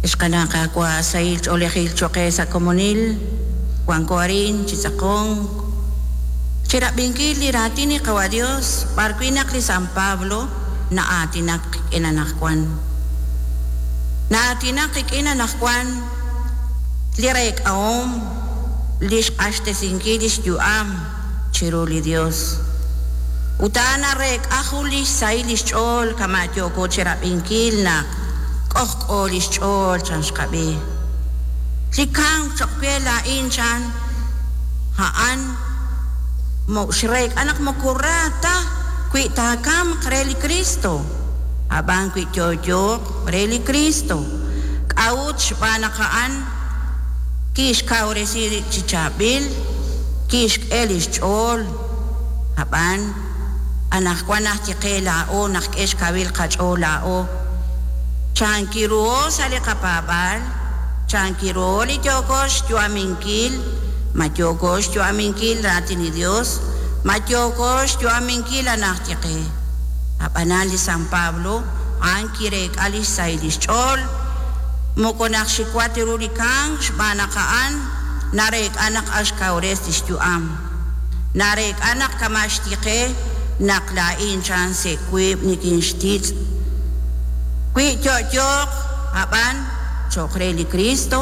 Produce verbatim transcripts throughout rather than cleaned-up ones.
Xqana Qaawa' sahil ch'oolejil cho'q qe sa' komonil wanko arin chi tz'aqonk chirab'inkil li raatin li Qawa' Dios b'ar wi' naq li San Pablo na'aatinak qik'in anaqwan na'aatinak qik'in anaqwan li reek'ahom li xq'axtesinkil li xyu'am chiru li Dios ut a'an nareek'a jun li xsahil li xch'ool kama' yooko chirab'inkil naq k'ojk'o li xch'ool chan xqab'i li kamk cho'q we laa'in chan a'an xreek'a naq moko ra ta wi taakamq re li Cristo ab'an wi yo'yooq re li Cristo k'a'ut xb'aan naq a'an kixkawresi rib' chi chaab'il kixk'e li xch'ool ab'an anaqwan naj qe laa'o naq k'e xkawil qach'ool laa'o chankiruho sa' li qapaab'aal chankiruho li yooko xyu'aminkil ma yooko xyu'aminkil raatin li Dios ma yooko xyu'aminkil anaj qe ab'anan li San Pablo a'an kireek'a li xsahil li xch'ool moko naq xiwat ru li kamk xb'aan naq a'an nareek'a naq axkawres li xyu'am nareek'a naq kama' xtiqe naq laa'in chan se' wiib' nikinxtitz' wi yo'yooq ab'an cho'q re li Cristo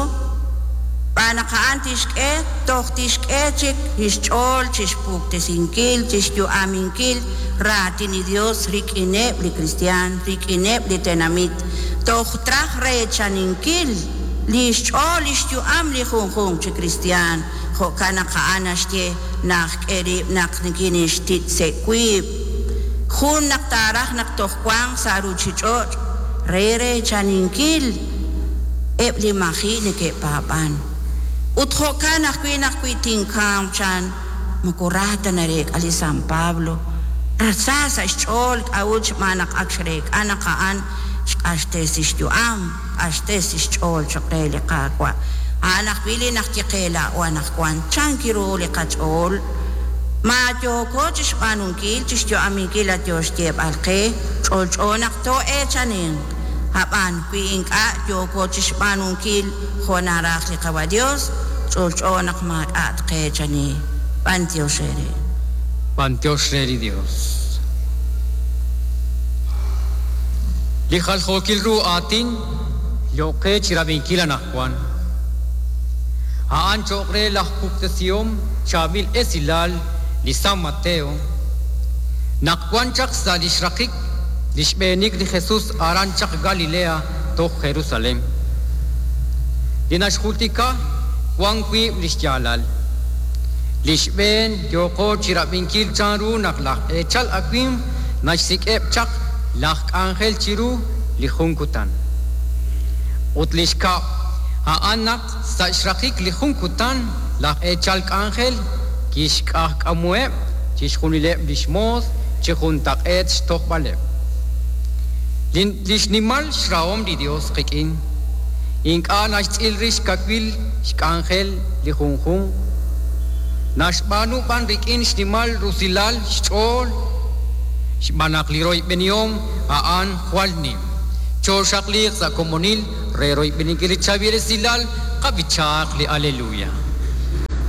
b'aan naq a'an tixk'e toj tixk'e chik li xch'ool chixpuktesinkil chixyu'aminkil raatin li Dios rik'ineb' li kristiaan rik'ineb' li tenamit toj traj reechaninkil li xch'ool li xyu'am li junjunq chi kristiaan jo'kan naq a'an naxye naq k'e rib' naq nikinixtitz' se' wiib' jun naq taaraj naq toj wanq sa' ruuchich'och' re reechaninkil eb' li maji' neke'paab'an ut jo'kan ajwi' naq wi tinkamq chan moko ra ta nareek'a li San Pablo sa sa' xch'ool k'a'ut xb'aan naq ak xreek'a naq a'an xq'axtesi xyu'am q'axtesi xch'ool cho'q re li Qaawa' a'an ajwi' li naq kiqe laa'o anaqwan chankiru li qach'ool ma yooko chixb'aanunkil chixyu'aminkil a yo xyeeb'al qe ch'olch'o naq too'eechaninq ab'an wi ink'a' yooko chixb'aanunkil jo' naraj li Qawa' Dios ch'olch'o naq maak'a' tqeechani b'antiox re B'antiox re li Dios. Li jaljookil ru aatin yo'qe chirab'inkil anaqwan a'an cho'q re laj puktesihom chaab'il esilal li San Mateo naq wan chaq sa' li xraqik li xb'eenik li Jesus aran chaq Galilea toj Jerusalén li naxjultika wan wiib' li xyaalal li xb'een yooko chirab'inkil chanru naq laj eechal awimq naxsik'eb' chaq laj k'anjel chiru li jun kutan ut li xkab' a'an naq sa' xraqik li jun kutan laj eechal k'anjel kixk'ajk'amuheb' chixjunileb' li xmoos chi juntaq'eet xtojb'aleb' li xnimal xrahom li Dios qik'in ink'a' naxtz'il rix kawil xk'anjel li junjunq naxb'aanu b'an rik'in xnimal rusilal xch'ool xb'aan naq li royb'enihom a'an jwal nim choxaqliq sa' komonil re royb'eninkil li chaab'il esilal qab'ichaaq li aleluya.